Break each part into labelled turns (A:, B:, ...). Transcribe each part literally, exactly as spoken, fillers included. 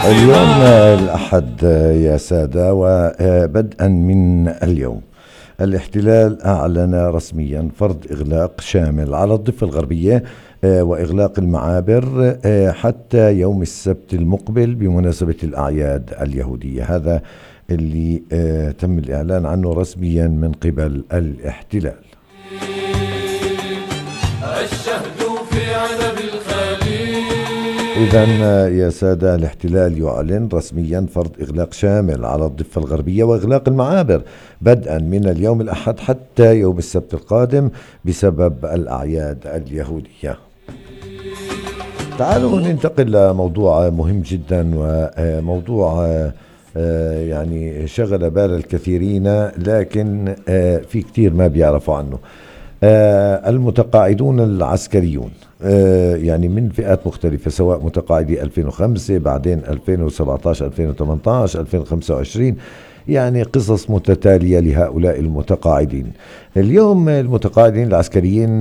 A: اليوم الأحد يا سادة، وبدءا من اليوم الاحتلال أعلن رسميا فرض إغلاق شامل على الضفة الغربية وإغلاق المعابر حتى يوم السبت المقبل بمناسبة الأعياد اليهودية. هذا اللي تم الإعلان عنه رسميا من قبل الاحتلال. الشهد في عنب الخليل. إذن يا سادة، الاحتلال يعلن رسميا فرض إغلاق شامل على الضفة الغربية وإغلاق المعابر بدءا من اليوم الأحد حتى يوم السبت القادم بسبب الأعياد اليهودية. تعالوا ننتقل لموضوع مهم جدا، وموضوع يعني شغل بال الكثيرين، لكن في كتير ما بيعرفوا عنه. المتقاعدون العسكريون يعني من فئات مختلفة، سواء متقاعدي ألفين وخمسة، بعدين ألفين وسبعة عشر، ألفين وثمانية عشر، ألفين وخمسة وعشرين، يعني قصص متتالية لهؤلاء المتقاعدين. اليوم المتقاعدين العسكريين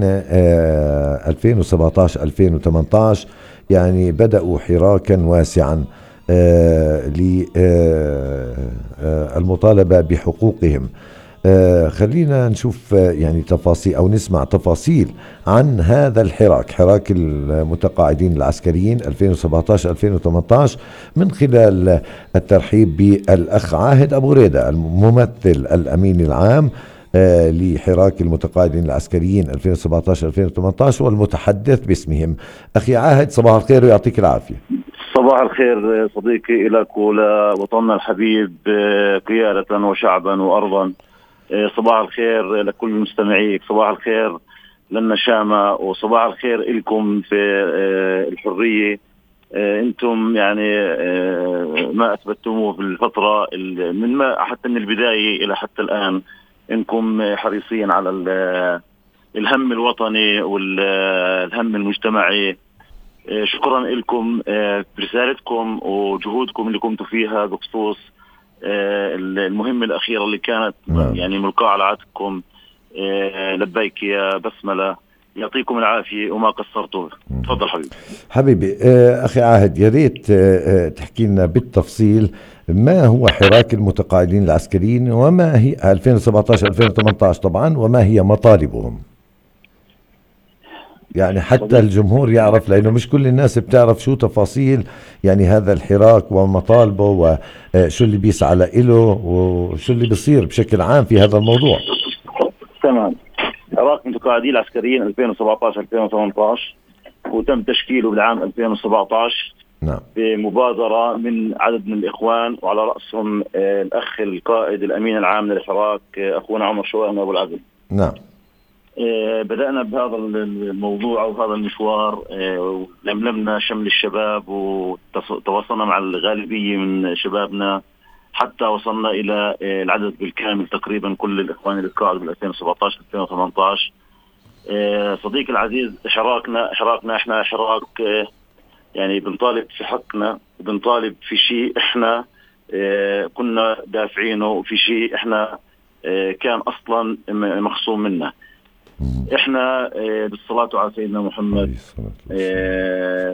A: ألفين وسبعة عشر ألفين وثمانية عشر يعني بدأوا حراكا واسعا للمطالبة بحقوقهم. آه خلينا نشوف آه يعني تفاصيل أو نسمع تفاصيل عن هذا الحراك، حراك المتقاعدين العسكريين ألفين وسبعة عشر ألفين وثمانية عشر، من خلال الترحيب بالأخ عاهد أبو ريدة، الممثل الأمين العام آه لحراك المتقاعدين العسكريين ألفين وسبعة عشر ألفين وثمانية عشر والمتحدث باسمهم. أخي عاهد، صباح الخير ويعطيك العافية.
B: صباح الخير صديقي لك ولوطننا الحبيب قيادة وشعبا وأرضا. صباح الخير لكل مستمعيك، صباح الخير للنشامة، وصباح الخير لكم في الحرية. انتم يعني ما اثبتموه في الفترة من ما حتى من البداية الى حتى الان، انكم حريصين على الهم الوطني والهم المجتمعي. شكرا لكم برسالتكم وجهودكم اللي قمتوا فيها بخصوص المهمة الأخيرة اللي كانت نعم. يعني ملقاة على عاتقكم. لبيك يا بسملة، يعطيكم العافية وما قصرتوا. تفضل حبيبي.
A: حبيبي أخي عاهد، يا ريت تحكي لنا بالتفصيل ما هو حراك المتقاعدين العسكريين، وما هي ألفين وسبعة عشر ألفين وثمانية عشر طبعا، وما هي مطالبهم، يعني حتى الجمهور يعرف، لأنه مش كل الناس بتعرف شو تفاصيل يعني هذا الحراك ومطالبه وشو اللي بيسعى له وشو اللي بيصير بشكل عام في هذا الموضوع.
B: تمام. حراك متقاعدين العسكريين ألفين وسبعة عشر ألفين وثمانية عشر وتم تشكيله بالعام ألفين وسبعة عشر
A: نعم.
B: بمبادرة من عدد من الإخوان، وعلى رأسهم الأخ القائد الأمين العام للحراك أخونا عمر شوان أبو العزم.
A: نعم.
B: بدأنا بهذا الموضوع أو هذا المشوار، لملمنا شمل الشباب وتواصلنا مع الغالبية من شبابنا حتى وصلنا إلى العدد بالكامل تقريبا كل الإخوان اللي قاعدوا بال ألفين وسبعة عشر ألفين وثمانية عشر. صديقي العزيز، حراكنا حراكنا إحنا حراك يعني بنطالب في حقنا، بنطالب في شيء إحنا كنا دافعينه، وفي شيء إحنا كان أصلا مخصوم منا. احنا بالصلاة على سيدنا محمد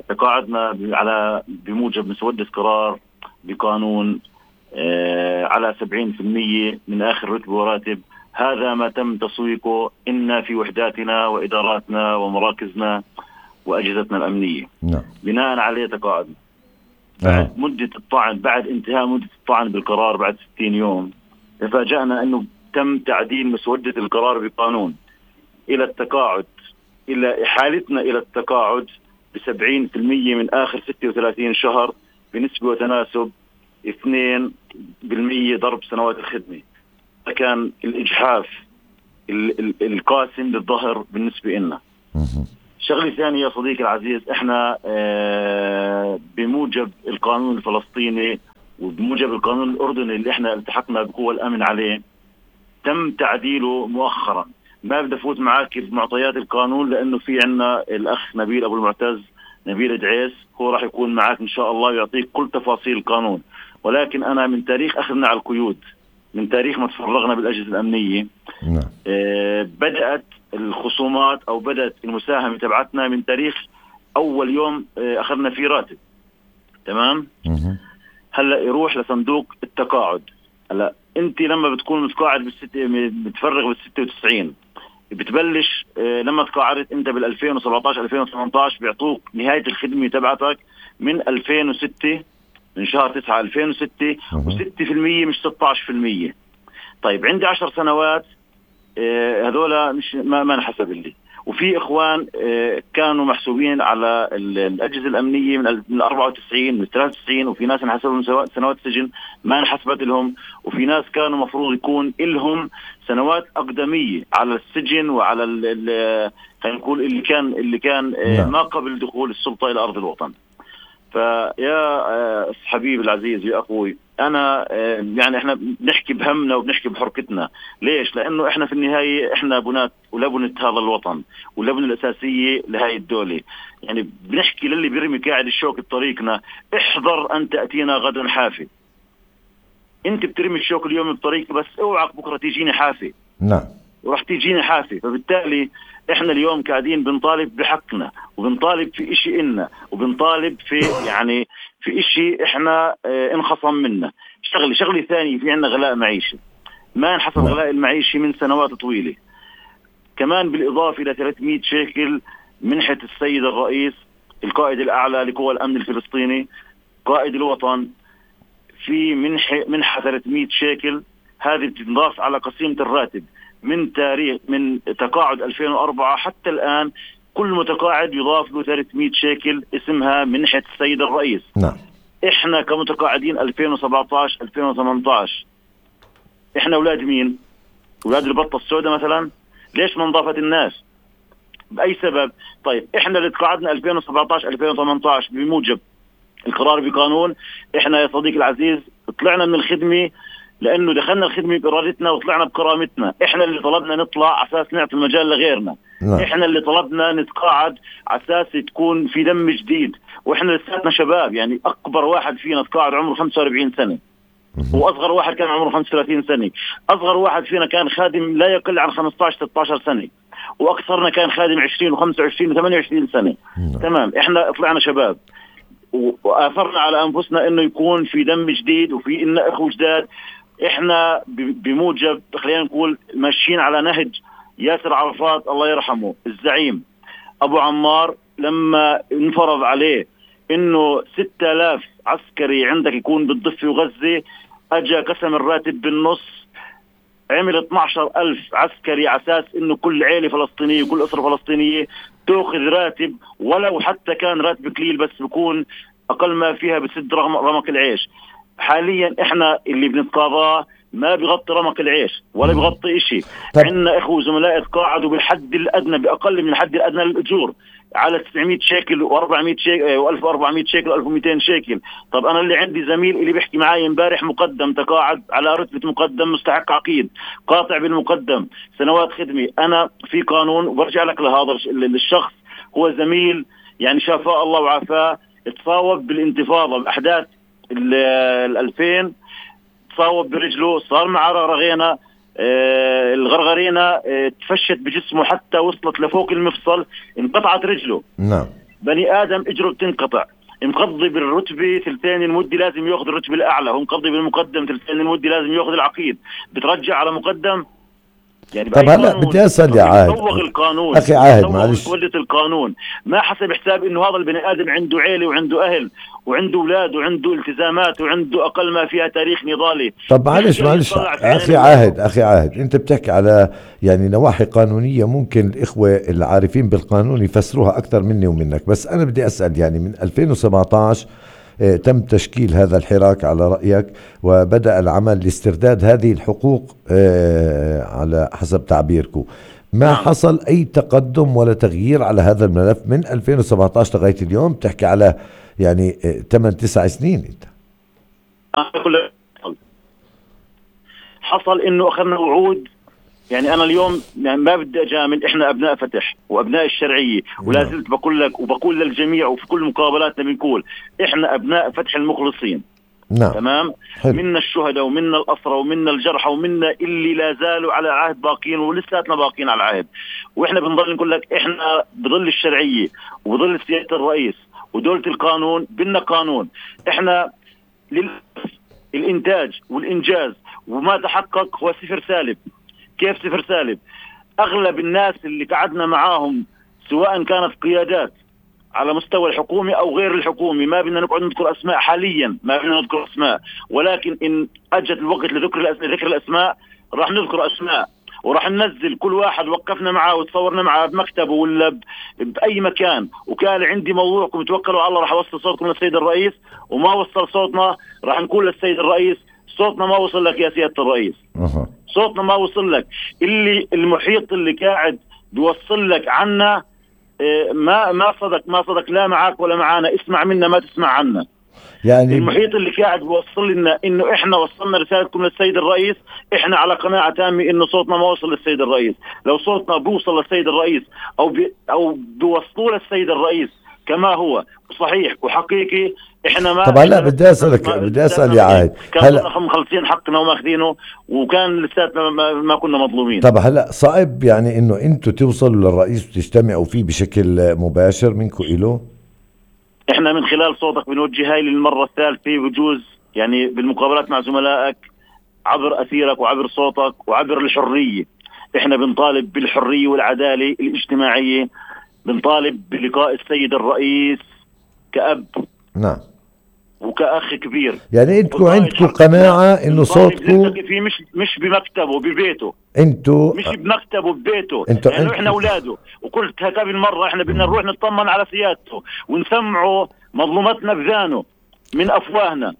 B: تقاعدنا على بموجب مسودة قرار بقانون على سبعين بالمئة من آخر رتب وراتب. هذا ما تم تسويقه إن في وحداتنا وإداراتنا ومراكزنا وأجهزتنا الأمنية.
A: نعم.
B: بناء عليه تقاعدنا
A: آه.
B: بعد مدة الطعن، بعد انتهاء مدة الطعن بالقرار بعد ستين يوم، تفاجأنا أنه تم تعديل مسودة القرار بقانون إلى التقاعد، إلى إحالتنا إلى التقاعد بسبعين بالمئة من آخر ستة وثلاثين شهر بنسبة وتناسب اثنين بالمئة ضرب سنوات الخدمة. كان الإجحاف القاسم للظهر بالنسبة لنا. شغلة ثانية يا صديقي العزيز، إحنا بموجب القانون الفلسطيني وبموجب القانون الأردني اللي إحنا التحقنا بقوة الأمن عليه، تم تعديله مؤخرا. ما بدي أفوت معاك بمعطيات القانون لأنه في عنا الأخ نبيل أبو المعتز، نبيل دعيس، هو راح يكون معاك إن شاء الله ويعطيك كل تفاصيل القانون. ولكن أنا من تاريخ أخذنا على القيود، من تاريخ ما تفرغنا بالأجهزة الأمنية، آه بدأت الخصومات أو بدأت المساهمة تبعتنا من تاريخ أول يوم آه أخذنا فيه راتب. تمام. هلا يروح لصندوق التقاعد. هلا انت لما بتكون متقاعد بالست بتفرغ بالستة وتسعين بتبلش اه لما تقاعدت انت بال ألفين وسبعطعش ألفين وثمنطعش بيعطوك نهايه الخدمه تبعتك من ألفين وستة، من شهر تسعة ألفين وستة، وستة بالمية مش ستة عشر بالمية. طيب عندي عشر سنوات اه هذولا مش ما, ما انحسب لي. وفي اخوان اه كانوا محسوبين على الاجهزه الامنيه من من أربعة وتسعين من ثلاثة وتسعين، وفي ناس انحسبوا من سنوات سجن ما انحسبت لهم، وفي ناس كانوا مفروض يكون لهم سنوات اقدميه على السجن وعلى خلينا نقول اللي كان اللي كان اه ما قبل دخول السلطه الى ارض الوطن. فيا حبيبي العزيز يا اخوي، انا يعني احنا بنحكي بهمنا وبنحكي بحركتنا. ليش؟ لانه احنا في النهايه احنا بنات ولبنة هذا الوطن واللبنة الاساسيه لهي الدوله. يعني بنحكي للي بيرمي قاعد الشوك بطريقنا احذر ان تاتينا غدا حافي. انت بترمي الشوك اليوم بطريقي بس اوعك بكره تيجيني حافي.
A: نعم.
B: وراح تيجيني حافي. فبالتالي احنا اليوم قاعدين بنطالب بحقنا وبنطالب في اشي إلنا وبنطالب في يعني في اشي احنا اه انخصم منا. شغلة شغلة ثانية، في عنا غلاء معيشي ما انحصل غلاء المعيشي من سنوات طويلة. كمان بالإضافة إلى ثلاثمئة شيكل منحة السيد الرئيس القائد الأعلى لقوى الأمن الفلسطيني قائد الوطن، في منحة منحة ثلاثمئة شيكل. هذه بتنضاف على قسيمة الراتب من تاريخ من تقاعد ألفين وأربعة حتى الآن. كل متقاعد يضاف له ثلاثمئة شيكل اسمها منحة السيد الرئيس.
A: نعم.
B: احنا كمتقاعدين ألفين وسبعطعش ألفين وثمنطعش احنا اولاد مين؟ اولاد البطة السوداء مثلا؟ ليش ما انضافت الناس؟ بأي سبب؟ طيب احنا اللي تقاعدنا ألفين وسبعطعش ألفين وثمنطعش بموجب القرار بقانون. احنا يا صديقي العزيز طلعنا من الخدمة لانه دخلنا الخدمة بارادتنا وطلعنا بكرامتنا. احنا اللي طلبنا نطلع على اساس نعطي المجال لغيرنا. لا. احنا اللي طلبنا نتقاعد على اساس تكون في دم جديد، واحنا لساتنا شباب. يعني اكبر واحد فينا تقاعد عمره خمسة وأربعين سنة، واصغر واحد كان عمره خمسة وثلاثين سنة. اصغر واحد فينا كان خادم لا يقل عن خمسة عشر ستة عشر سنة، واكثرنا كان خادم عشرين وخمسة وعشرين وثمانية وعشرين سنة. لا. تمام. احنا طلعنا شباب وآثرنا على انفسنا انه يكون في دم جديد وفي إن اخوة جداد. احنا بموجب خلينا نقول ماشيين على نهج ياسر عرفات الله يرحمه الزعيم ابو عمار، لما انفرض عليه انه ستة آلاف عسكري عندك يكون بالضفة وغزة، اجا قسم الراتب بالنص، عمل اثني عشر ألف عسكري على اساس انه كل عائلة فلسطينية وكل اسرة فلسطينية تاخذ راتب ولو حتى كان راتب قليل بس بيكون اقل ما فيها بسد رمق العيش. حاليا احنا اللي بنتقاضاه ما بيغطي رمق العيش ولا بيغطي اشي. عندنا اخوة زملاء تقاعدوا بالحد الادنى باقل من الحد الادنى للاجور على تسعمئة شيكل وأربعمئة شيكل وألف وأربعمئة شيكل وألف ومئتين شيكل. طب انا اللي عندي زميل اللي بيحكي معي امبارح مقدم تقاعد على رتبة مقدم مستحق عقيد قاطع بالمقدم سنوات خدمة. انا في قانون وبرجع لك لهذا الشخص هو زميل يعني شافاه الله وعافاه، تصاوب بالانتفاضة بأحداث الألفين، تصاوب برجله صار معه رغينا آه الغرغرينة آه تفشت بجسمه حتى وصلت لفوق المفصل، انقطعت رجله.
A: نعم.
B: بني آدم اجره بتنقطع، مقضي بالرتبة ثلثين المدة لازم يأخذ الرتبة الأعلى، هو مقضي بالمقدم ثلثين المدة لازم يأخذ العقيد، بترجع على مقدم. يعني
A: طب هلا بدي اسال يا عاهد
B: القانون
A: اخي عاهد معلش
B: ولة القانون ما حسب حساب انه هذا البني ادم عنده عيله وعنده اهل وعنده اولاد وعنده التزامات وعنده اقل ما فيها تاريخ نضالي.
A: طب معلش معلش اخي عاهد اخي عاهد انت بتحكي على يعني نواحي قانونيه ممكن الاخوه العارفين بالقانون يفسروها اكثر مني ومنك، بس انا بدي اسال يعني من ألفين وسبعطعش اه تم تشكيل هذا الحراك على رأيك وبدأ العمل لاسترداد هذه الحقوق اه على حسب تعبيركم. ما نعم. حصل أي تقدم ولا تغيير على هذا الملف من ألفين وسبعطعش لغاية اليوم؟ تحكي على يعني ثمان تسع سنين. انت
B: حصل انه اخذنا وعود. يعني انا اليوم يعني ما بدي اجامل، احنا ابناء فتح وابناء الشرعيه ولا زلت بقول لك وبقول للجميع وفي كل مقابلاتنا بنقول احنا ابناء فتح المخلصين.
A: نعم.
B: تمام. منا الشهداء ومنا الاسرى ومنا الجرحى ومنا اللي لا زالوا على عهد باقين ولساتنا باقين على العهد. واحنا بنضل نقول لك احنا بظل الشرعيه وبظل سياده الرئيس ودوله القانون بدنا قانون. احنا لل الإنتاج والإنجاز وما تحقق هو صفر سالب. كيف صفر سالب؟ أغلب الناس اللي قعدنا معاهم سواء كانت قيادات على مستوى الحكومي أو غير الحكومي، ما بدنا نقعد نذكر أسماء حاليا، ما بدنا نذكر أسماء، ولكن إن أجت الوقت لذكر ذكر الأسماء راح نذكر أسماء وراح ننزل كل واحد وقفنا معه وتصورنا معه بمكتبه ولا بأي مكان وقال عندي موضوعكم توكلوا على الله راح أوصل صوتكم للسيد الرئيس، وما وصل صوتنا راح نقول للسيد الرئيس صوتنا ما وصل لك يا سيادة الرئيس.
A: أه.
B: صوتنا ما وصل لك. اللي المحيط اللي قاعد بيوصل لك عنا ما ما صدق ما صدق لا معك ولا معانا، اسمع منا ما تسمع عنا. يعني المحيط اللي قاعد بيوصل لنا انه احنا وصلنا رسالتكم للسيد الرئيس، احنا على قناعة تامة انه صوتنا ما وصل للسيد الرئيس. لو صوتنا بيوصل للسيد الرئيس او بي او بيوصلوا للسيد الرئيس كما هو صحيح وحقيقي، احنا ما
A: طبعا. لا بدي اسالك بدي اسال يا عاهد،
B: هلا مخلصين حقنا وماخذينه وكان لساتنا ما, ما كنا مظلومين.
A: طبعا هلا صعب يعني انه انتم توصلوا للرئيس وتجتمعوا فيه بشكل مباشر منكم إله؟
B: احنا من خلال صوتك بنوجه هاي للمرة الثالثة بجوز يعني بالمقابلات مع زملائك عبر أثيرك وعبر صوتك وعبر الحرية. احنا بنطالب بالحرية والعدالة الاجتماعية، بنطالب بلقاء السيد الرئيس كأب
A: نعم
B: وكأخ كبير.
A: يعني انتوا عندكم قناعة انه صوتكم
B: في مش مش بمكتبه ببيته،
A: انتوا
B: مش بمكتبه ببيته،
A: انتوا
B: يعني احنا اولاده. وقلت قبل مرة احنا بدنا نروح نطمن على سيادته ونسمعه مظلومتنا بذانه من افواهنا.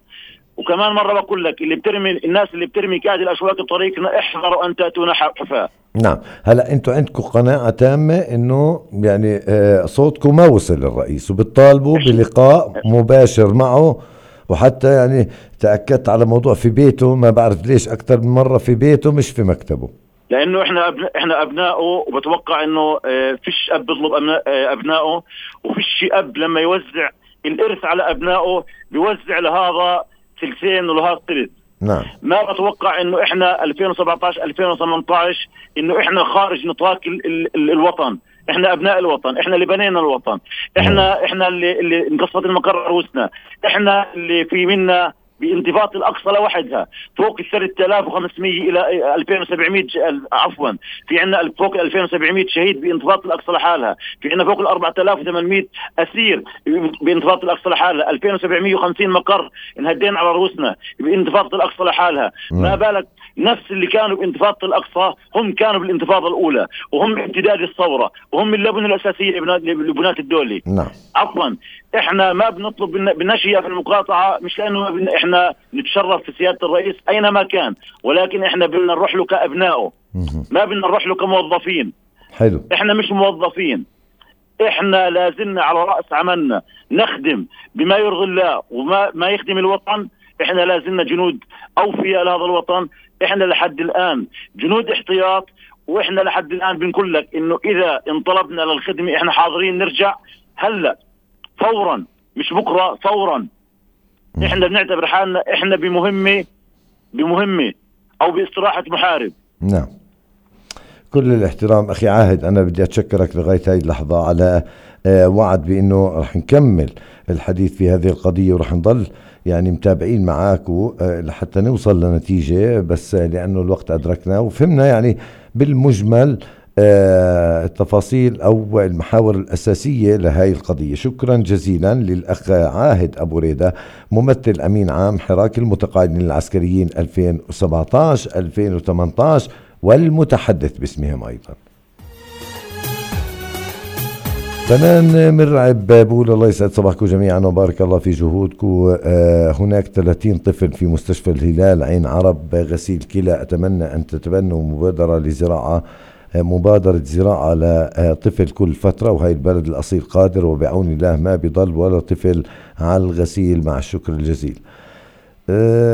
B: وكمان مرة بقول لك اللي بترمي الناس اللي بترمي كاد الاشواك بطريقنا احذروا ان تاتونا حفاة.
A: نعم. هلا انتوا عندكم قناعة تامة انه يعني اه صوتكم ما وصل للرئيس وبتطالبوا بلقاء مباشر معه، وحتى يعني تأكدت على موضوع في بيته، ما بعرف ليش اكثر من مرة في بيته مش في مكتبه،
B: لانه احنا أبن... احنا ابنائه، وبتوقع انه اه فيش اب بيطلب أبنا... اه ابنائه، وفيش اب لما يوزع الارث على ابنائه بيوزع لهذا ثلثين ولهذا ثلث.
A: نعم.
B: ما بتوقع انه احنا ألفين وسبعطعش ألفين وثمنطعش انه احنا خارج نطاق ال... ال... الوطن. احنا ابناء الوطن، احنا اللي بنينا الوطن، احنا مم. احنا اللي اللي انقصفت المقر عروسنا، احنا اللي في منا بانضباط الاقصى لوحدها فوق ال ثلاثة آلاف وخمسمية الى ألفين وسبعمية عفوا في عندنا فوق ال ألفين وسبعمية شهيد بانضباط الاقصى لحالها، في عندنا فوق ال أربعة آلاف وثمانمية اسير بانضباط الاقصى لحالها، ألفين وسبعمية وخمسين مقر انهدينا على رؤوسنا بانضباط الاقصى لحالها. ما بالك نفس اللي كانوا بانتفاضة الأقصى هم كانوا بالانتفاضة الأولى وهم امتداد الثورة وهم اللبنة الأساسية لبناة الدولة.
A: نعم.
B: عفوا احنا ما بنطلب بالنشية في المقاطعة مش لأنه احنا نتشرف في سيادة الرئيس أينما كان، ولكن احنا بدنا نروح له كأبنائه، ما بدنا نروح له كموظفين.
A: حلو.
B: احنا مش موظفين، احنا لازلنا على رأس عملنا نخدم بما يرضي الله وما ما يخدم الوطن. احنا لازلنا جنود أوفياء لهذا الوطن، احنا لحد الآن جنود احتياط، واحنا لحد الآن بنقول لك انه اذا انطلبنا للخدمة احنا حاضرين نرجع هلا فورا، مش بكرة، فورا. احنا بنعتبر حالنا احنا بمهمة بمهمة او باستراحة محارب.
A: نعم. كل الاحترام أخي عاهد، أنا بدي أتشكرك لغاية هذه اللحظة على وعد بأنه رح نكمل الحديث في هذه القضية ورح نضل يعني متابعين معاكم لحتى نوصل لنتيجة، بس لأنه الوقت أدركنا وفهمنا يعني بالمجمل التفاصيل أو المحاور الأساسية لهذه القضية. شكرا جزيلا للأخ عاهد أبو ريدة، ممثل أمين عام حراك المتقاعدين العسكريين ألفين وسبعطعش ألفين وثمنطعش والمتحدث باسمهم أيضا. فنان مرعب بقول الله يسعد صباحكم جميعا وبارك الله في جهودكم. آه هناك ثلاثين طفل في مستشفى الهلال عين عرب غسيل كلى، أتمنى أن تتبنوا مبادرة لزراعة آه مبادرة زراعة لطفل كل فترة، وهي البلد الأصيل قادر وبعون الله ما بيضل ولا طفل على الغسيل، مع الشكر الجزيل. آه